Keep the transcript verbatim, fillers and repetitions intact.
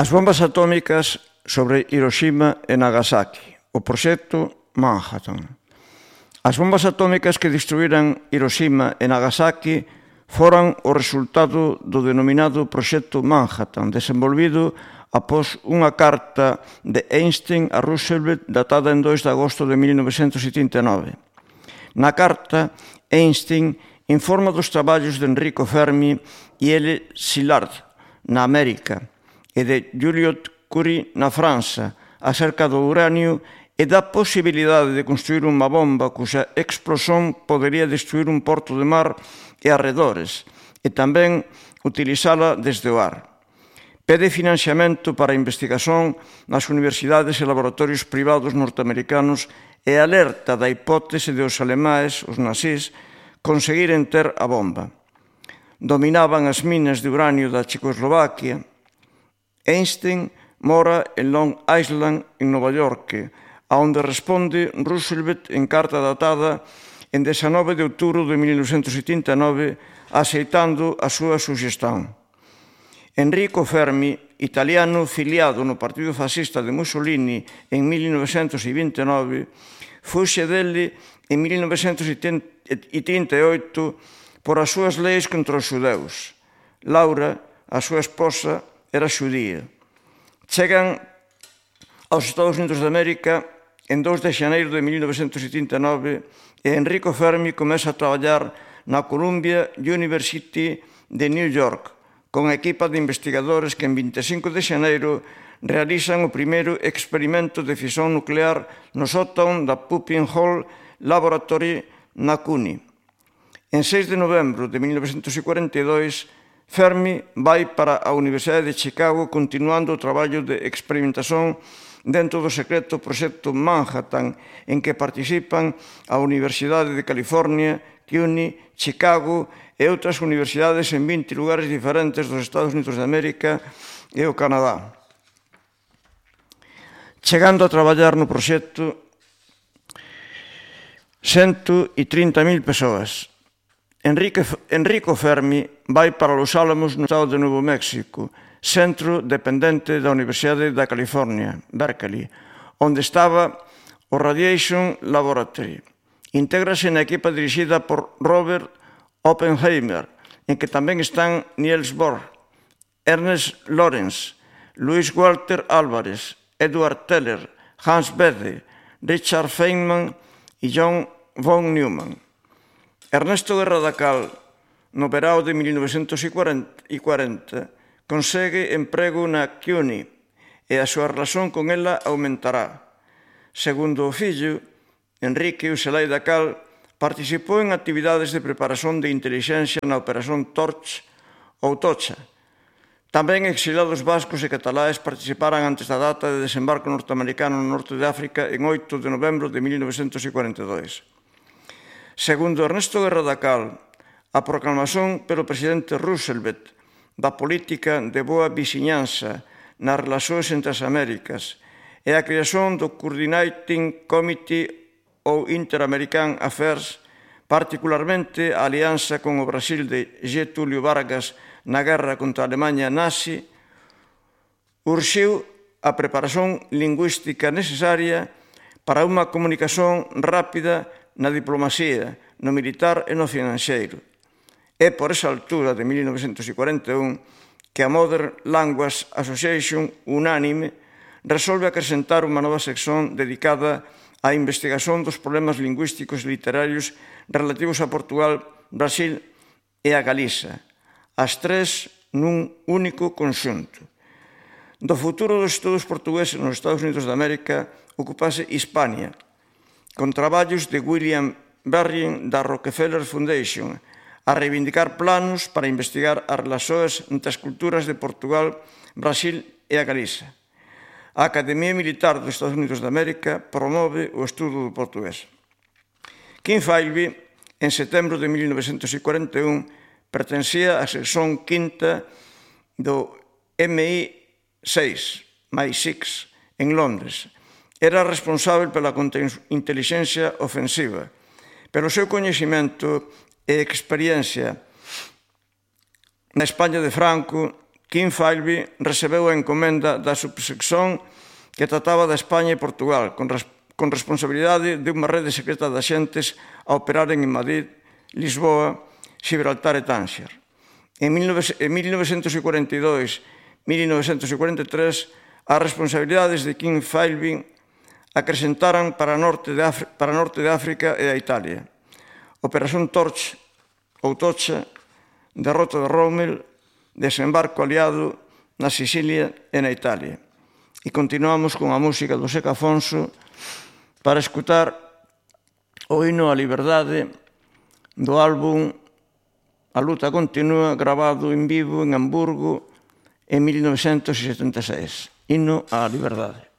As bombas atómicas sobre Hiroshima e Nagasaki, o proxecto Manhattan. As bombas atómicas que destruíran Hiroshima e Nagasaki foran o resultado do denominado proxecto Manhattan, desenvolvido após unha carta de Einstein a Roosevelt datada en dois de agosto de mil novecentos setenta e nove. Na carta, Einstein informa dos traballos de Enrico Fermi e L. Szilard na América e de Joliot Curie na França acerca do uranio e da posibilidade de construir unha bomba cuxa explosión podería destruir un porto de mar e arredores e tamén utilizala desde o ar. Pede financiamento para a investigación nas universidades e laboratorios privados norteamericanos e alerta da hipótese de os alemáes, os nazís, conseguiren ter a bomba. Dominaban as minas de uranio da Checoslovaquia. Einstein mora en Long Island, en Nova York, aonde responde Roosevelt en carta datada en dezanove de outubro de mil novecentos setenta e nove, aceitando a súa suxestión. Enrico Fermi, italiano filiado no Partido Fascista de Mussolini en mil novecentos vinte e nove, fuxe dele en mil novecentos trinta e oito por as súas leis contra os xudeus. Laura, a súa esposa, era xudía. Chegan aos Estados Unidos de América en dous de xaneiro de mil novecentos setenta e nove e Enrico Fermi comeza a traballar na Columbia University de New York con a equipa de investigadores que en vinte e cinco de xaneiro realizan o primeiro experimento de fisión nuclear no sótão da Pupin Hall Laboratory na C U N Y. En seis de novembro de mil novecentos cuarenta e dois, Fermi vai para a Universidade de Chicago continuando o traballo de experimentación dentro do secreto proxecto Manhattan, en que participan a Universidade de California, C U N Y, Chicago e outras universidades en vinte lugares diferentes dos Estados Unidos de América e o Canadá. Chegando a traballar no proxecto cento e trinta mil persoas. Enrique, Enrico Fermi vai para Los Álamos, no estado de Novo México, centro dependente da Universidade da California, Berkeley, onde estaba o Radiation Laboratory. Intégrase na equipa dirixida por Robert Oppenheimer, en que tamén están Niels Bohr, Ernest Lawrence, Luis Walter Álvarez, Edward Teller, Hans Bethe, Richard Feynman e John von Neumann. Ernesto Guerra da Cal, no verao de mil novecentos cuarenta, consegue emprego na C U N Y e a súa relación con ela aumentará. Segundo o fillo, Enrique Ucelay da Cal participou en actividades de preparación de intelixencia na Operación Torch ou Tocha. Tamén exilados vascos e cataláes participaran antes da data de desembarco norteamericano no norte de África en oito de novembro de mil novecentos cuarenta e dois. Segundo Ernesto Guerra da Cal, a proclamación pelo presidente Roosevelt da política de boa vixiñanza nas relacións entre as Américas e a creación do Coordinating Committee ou Inter-American Affairs, particularmente a alianza con o Brasil de Getúlio Vargas na guerra contra a Alemanha nazi, urxiu a preparación lingüística necesaria para unha comunicación rápida na diplomacia, no militar e no financeiro. É por esa altura de mil novecentos cuarenta e un que a Modern Language Association, unánime, resolve acrescentar unha nova sección dedicada á investigación dos problemas lingüísticos e literarios relativos a Portugal, Brasil e a Galiza, as tres nun único conxunto. Do futuro dos estudos portugueses nos Estados Unidos de América ocupase Hispania, con traballos de William Berrien da Rockefeller Foundation, a reivindicar planos para investigar as relacións entre as culturas de Portugal, Brasil e a Galiza. A Academia Militar dos Estados Unidos de América promove o estudo do portugués. Kim Philby, en setembro de mil novecentos cuarenta e un, pertencía á sección quinta do M I seis, M I seis, en Londres. Era responsável pela contrainteligencia ofensiva. Pero o seu coñecemento e experiencia na España de Franco King Philby recebeu a encomenda da subsección que trataba da España e Portugal, con, res, con responsabilidade de unha rede secreta de axentes a operaren en Madrid, Lisboa, Gibraltar e Tánxer. En mil novecentos cuarenta e dous a mil novecentos cuarenta e tres, as responsabilidades de King Philby acrescentaran para norte de, para norte de África e a Italia. Operación Torch ou Tocha, derrota de Rommel, desembarco aliado na Sicilia e na Italia. E continuamos con a música do Seca Afonso para escutar o hino á liberdade do álbum A luta continúa, grabado en vivo en Hamburgo en mil novecentos setenta e seis. Hino á liberdade.